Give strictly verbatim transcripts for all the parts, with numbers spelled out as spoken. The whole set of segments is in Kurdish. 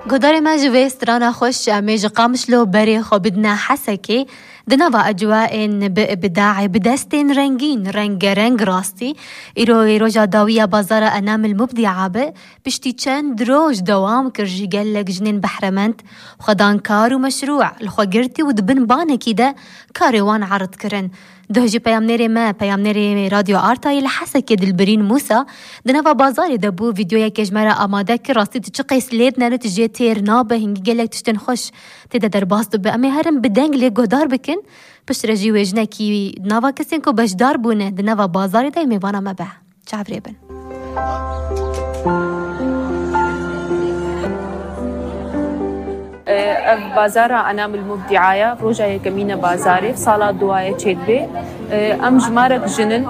Guhdarê me, ji vê strana xweş em ê ji Qamişlo berê xwe bidine Hesekê. Di nava ecwaên bi îbdayê, bi destên rengîn, rengereng rastî, îro ê roja dawî ya bazara Enamil Mubdi'a be. Piştî çend roj dewam kir, ji gelek jinên behremend, xwedan kar û meşrû li xwe girtî û di bin banekî de karê wan erd kirin. Duh jî peyamnêrê me, peyamnêrê Radyo Artayê li Hesekê Dilbirîn Mûsa di nava bazarê de bû, vîdeoyekê ji me re amade kir. Rastî tu çi qeys lê dinere, tu jê têr nabe, hingî gelek tiştên xweş tê de derbas dibe. Em ê herin bi deng lê guhdar bikin. Piştre jî wê jinekî di nava kesên ku beşdar bûne di nava bazarê de mêvana me be. Çavrê bin. Ev bazara Enamil Mubdi'aya, roja yekemîn e bazarê, sala duwaye çêdibe. Em jimarek jinin,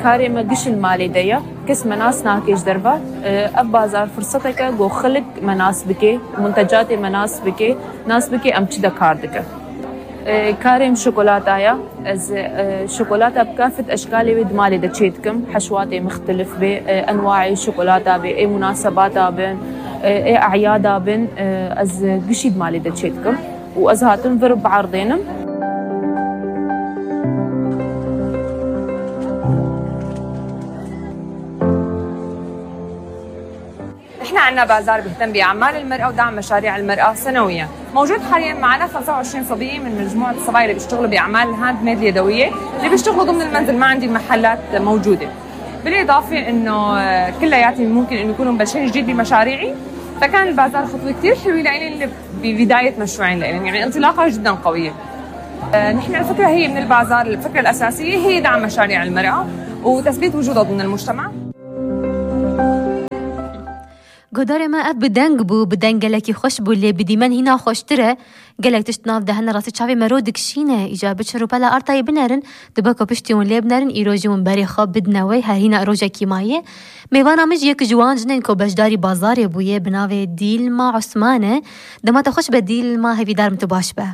karê me giş li malê de ye. Kes me nas nake ji derve. Ev bazar firsetek e ku xelk me nas bike, muntecatê me nas bike, nas bike em çi de kar dike. Karê min şokolata ye. Ez, e, şokolata bi kafet eşkalê wê di malê de çê dikim. Heşwatê mixtelif bê, e, enwaê şokolata bê, ê munasebata bin, e, ê e'yada bin, e, ez gişî di malê de çê dikim. Û ez hatim vir biardênim. نحن عنا بازار بيهتم بأعمال المرأة ودعم مشاريع المرأة سنويا. موجود حاليا معنا خمسة وعشرين صبية من مجموعة الصبايا اللي بيشتغلوا بأعمال الهاند ميد اليدوية، اللي بيشتغلوا ضمن المنزل، ما عندي المحلات موجودة. بالإضافة إنه، آه، كلياتهم ممكن إنه يكونوا مبلشين جديد بمشاريعي، فكان البازار خطوة كتير حلوة لإلي اللي ببداية مشروعين لإلي، يعني انطلاقة جدا قوية. آه، نحن الفكرة هي من البازار، الفكرة الأساسية هي دعم مشاريع المرأة وتثبيت وجودها ضمن المجتمع. Guhdarê me, ev bi deng bû, bi deng gelekî xweş bû, lê bi dîmen hîna xweştir e. Gelek tişt nav de hene, rastî çavê me ro dikişîne. Îcar biçin rûpela Artayê binerin, dibe ku piştî hûn lê binerin, îro jî hûn berê xwe bidine wê. Her hîna rojekî maye. Mêvana min jî yek ji wan jinên ku beşdarî bazarê bûye, bi navê Dîlma Osman e. Dema te xweş be Dîlma, hêvîdar im tu baş be.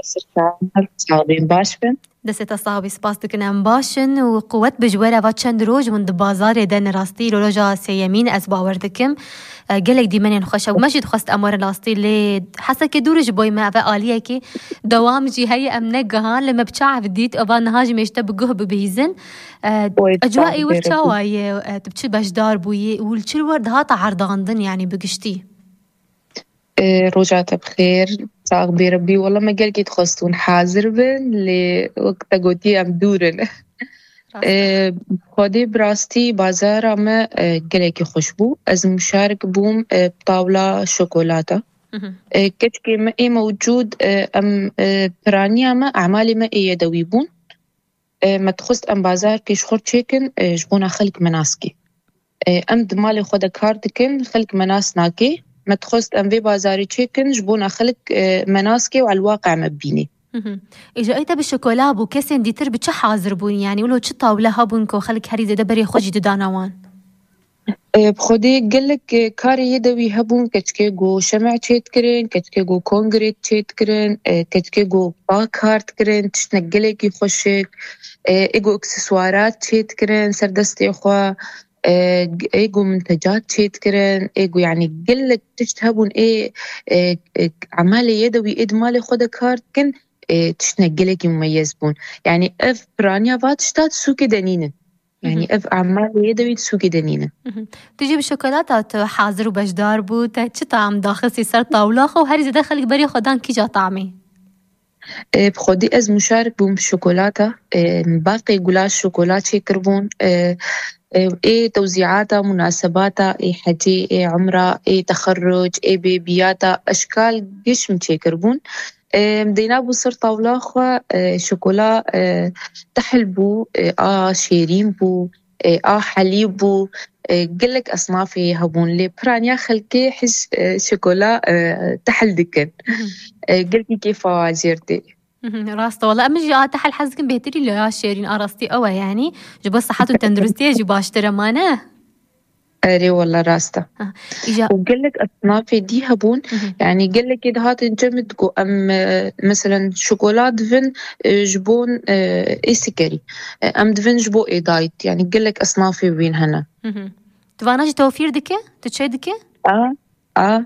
Sirkan, her sax bin, baş bin. Destê te sax bî, spas dikin, em baş in û quwet bi ji we re. Va çend roj hûn di bazarê de, ne rastî îro roja sêyemîn, ez bawer dikim. E, gelek dîmenên xweş e û me jî dixwest em werin rastî, lê Hesekê dûr ji boy me, ev e aliyekî dewam jî heye, em negihan, lê me bi çav dît, eva niha jî mêj te bi guh bibihîzin. E, Oy, ecwa ê wir çawa ye? E, tu bi çi beşdar bûyî û li çi wir dihata erdandin, yanî bi giştî? Ê, roja te bi xêr, sax bê Rebbî. Wela me gelkî dixwest hûn hazir bin, lê wek te gotî em dûr in. Rast e. Ê, Xwedê bi rastî bazara me, e, gelekî xweş bû. Ez muşarik bûm, e, bi tawla şokolata. Mhm. E, keçikê me ê mewcûd, e, em, e, piraniya me, emalê me ê yedewî bûn. E, me dixwest em bazarkê ji xwe çêkin, e, ji bona xelk me nas kê. E, em di malê xwe de kar dikin, xelk me nas nake. Me dixwest em vê bazarê çêkin, ji bona xelk, e, me nas kê û elwaqa me bibîne. Mhm. Îja ê te bi şokola bû, kesên dîtir bi çi hazir bûn? Yanî wilo çi tawle hebûn ku xelk herî zêde berê xwe jî didana wan? E, bi Xwedê gelek, e, karê yedewî hebûn, keçikê ku şemê çêdikirin, keçikê ku kongre çêdikirin, e, keçikê ku pa kar dikirin, tiştine gelekî xweşik, e, ê ku akseswarat çêdikirin ser destê xwe, e, ê ku mintecat çêdikirin, ê ku, yanî, gelek tişt hebûn, ê, e, e, emalê yedewî ê di malê xwe de kar dikin, e, tiştine gelekî mumeyez bûn. Yanî ev piraniya va tişta di sûkê de nînin. Yanî ev emalê yedewî di sûkê de nînin. Mhm. Tu jî bi şokolata tu hazir û beşdar bû, te çi tam daxistî ser tawla xwe û herî zêde xelk berê xwe dan kîja tamê? E, bi Xwedî ez muşarik bûm bi şokolata. E, baqê gulaş şokola çêkiribûn. E, e, ê tewzîata, munasebata, ê hecê, ê umra, ê texerruc, ê bêbiyata, eşkal giş min çêkiribûn. Em, deyna bû ser tawla xwe, e, şokola, e, tehl bû, e, a şêrîn bû, e, a helîb bû, e, gelek esnafê hebûn, lê piraniya xelkê hiş, e, şokola, e, tehl dikin. Mhm. E, gelkî kêfa wan jêr tê. Mhm, rast e, wala em jî a tehl hez dikin bêhtirî lê ya şêrîn a rastî ew e, yanî ji bo sihet û tenduristiyê jî baştir e, ma ne? Erê, wela rast e. Ha, îja- Û gelek esnafê dî hebûn, Mhm. yanî gelekê dihatin cem min digo em, e, meselen şokola divin, e, ji bo, e, ê sikerî. E, em divin ji bo ê dayît. Yanî gelek esnafê wîn hene. Mhm. Tu vana jî tewfîr dike? Tu çê dike? A, a,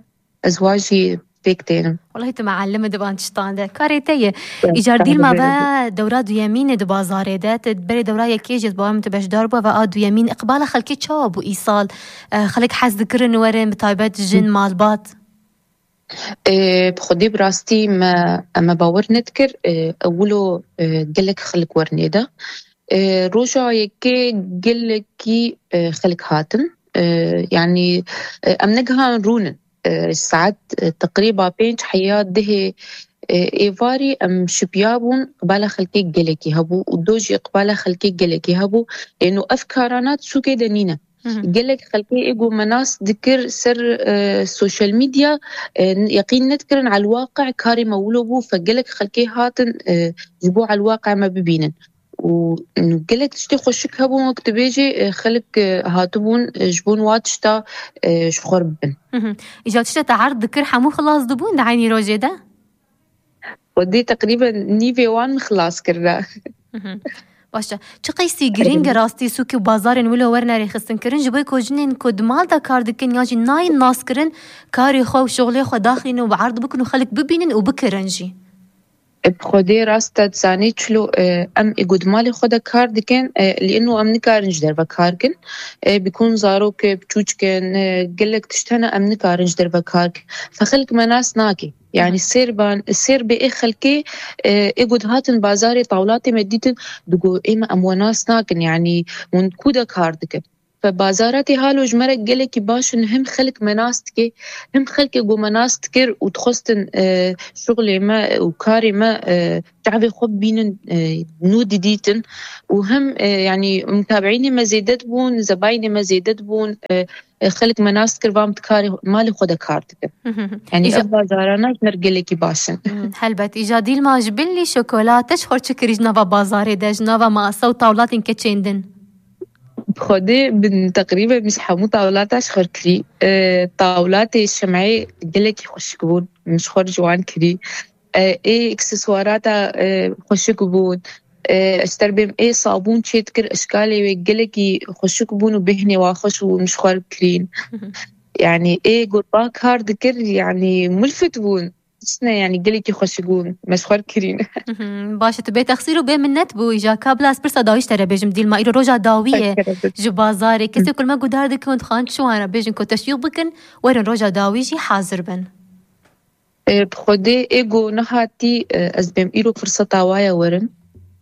ez wa jî pêk tênim. Welahi tu meallim e di van tiştan de. Karê te ye. Îcar dîl ma ve dewra duyemîn e di bazarê de. Tu berê dewra yekê jî ez bawer im tu beşdar bû ve a duyemîn. Iqbala xelkê çawa bû îsal? E, xelk hez dikirin werin, bi taybet jin, malbat? E, bi xwedê bi rastî me, me bawer nedikir. E, ewilo, e, gelek xelk werin ê de. E, roja yekê gelekî, e, xelk hatin. E, yanî, e, em negihan rûnin. E, saet, e, teqrîba pênc heya dihê, e, êvarî em şipiya bûn, iqbala xelkê gelekî hebû û do jî iqbala xelkê gelekî hebû. Lêno ev karana sûkê de nîne. Gelek xelkê ê ku me nas dikir ser, e, sosyal medya, e, yeqîn nedikirin elwaqe karê me wilo bû, fe gelek xelkê hatin, e, ji bo elwaqe me bibînin. Û gelek tiştê xweşik hebûn, wek tu bêjî, e, xelk, e, hatibûn, e, ji bo wa tişta, e, ji xwe bibin. Îca tişta te erd dikir, hemû xilas dibûn di eynî rojê de? Xwedê teqrîben nîvê wan min xilas kirine. Baş e. Çi qeysî girîng e rastî sûk û bazarên wilo werine rêxistin kirin, ji bo ku jinên ku di mal de kar dikin ya jî nayên nas kirin, karê xwe û şixulê xwe daxînin û bi erd bikin û xelk bibînin û bikirin jî. E, bi xwedê rast e, dizanî çilo, e, em ê ku di malê xwe de kar dikin, e, lê ino em nikarin ji derve kar kin. E, bikun zarok, e, biçûçik in, e, gelek tişt hene em nikarin ji derve kar kin. Fe xelk me nas nake. Yanî sêr ban, sêr bê ê xelkê, e, ê ku dihatin bazarê tawlatê me dîtin, digo ê me em we nas nakin. Yanî hûn ku de kar dikin? Fe bazaratê halo ji me re gelekî baş in, him xelk me nas dike, him xelkê ku me nas dikir û dixwestin, e, şixulê me û karê me, e, çavê xwe bibînin, e, nû didîtin û him, e, yanî mutabiînê me zêde dibûn, zebayînê me zêde dibûn, e, e, xelk me nas dikir, van bi karê malê xwe de kar dikin. Yanî Îja- ev bazarana ji me re gelekî baş in. Hmm, helbet. Îca dîl ma ji bilî şokolate ji xwe çi kirî ji nava bazarê de, ji nava masa û tawlatên keçên din? Bi xwedê bin teqrîben min ji hemû tawlata ji xwe kirî. E, tawlatê şemeyê gelekî xweşik bûn. Min ji xwe ji wan kirî. E, ê ekseswarata, e, xweşik bûn. E, ez terbêm ê sabûn çê dikir, eşkalê wê gelekî xweşik bûn û bêhnê wa xweş bûn, min ji xwe kirîn. Yanî ê gurba kar dikir, yanî mulfit bûn. Tiştine, yanî gelekî xweşik bûn, me ji xwe kirîn. Baş e, tu bê texsîr û bê minnet bû. Îja ka bila ez pirsa dawî ji te re bêjim, dîl ma îro roja dawî ye ji bazarê. Kesê ku me guhdar dikin û dixwazin çi wan re bêjin ku teşwîq bikin, werin roja dawî jî hazir bin. E, bi xwedê ê ku nehatî, e, ez bêm îro firseta waye werin.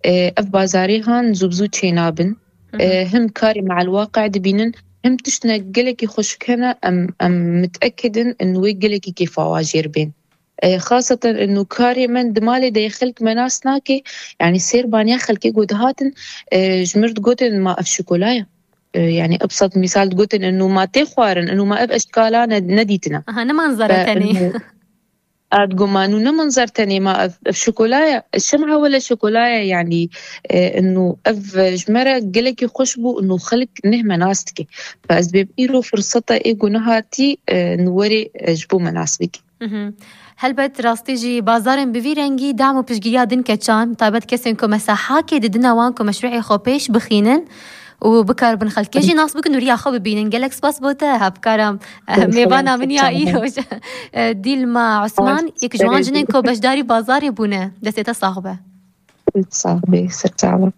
E, ev bazarê han zû bi zû çênabin. E, him karê me elwaqe dibînin, him tiştine gelekî xweşik hene, em, em mitekidin in wê gelekî kêfa wa jêr bên. E, xaseten inu karê min di malê de xelk me nas nake, yanî sêrbaniya xelkê ku dihatin, e, ji mir digotin ma ev şokola ye. E, yanî ebsat misal digotin inu ma tê xwarin, inu ma ev eşkala ne, nedîtine. Aha, ne manzara Ve tenê. inu, ad gumanu ne manzar tenê ma ev, ev şokola ye. Şem'a wele şokola ye, yanî, e, inu ev ji me re gelekî xweş bû, inu xelk neh me nas dike. Ve ez bêm îro firseta ê ku nehatî, e, inu werê, e, ji bo me nas bike. Mhm. Helbet rastî jî bazarên bi vî rengî dam û piştgiriya din keçan, taybet kesên ku me sehakê didine wan ku meşrûê xwe pêş bixînin û bikaribin xelkê jî nas bikin û riya xwe bibînin. Gelek spas bo te hevkara, eh, mêvana min ya îroj. Eh, Dîlma Osman, yek ji wan jinên ku beşdarî bazarê bûne. Destê te sax be. Sax be, ser çava.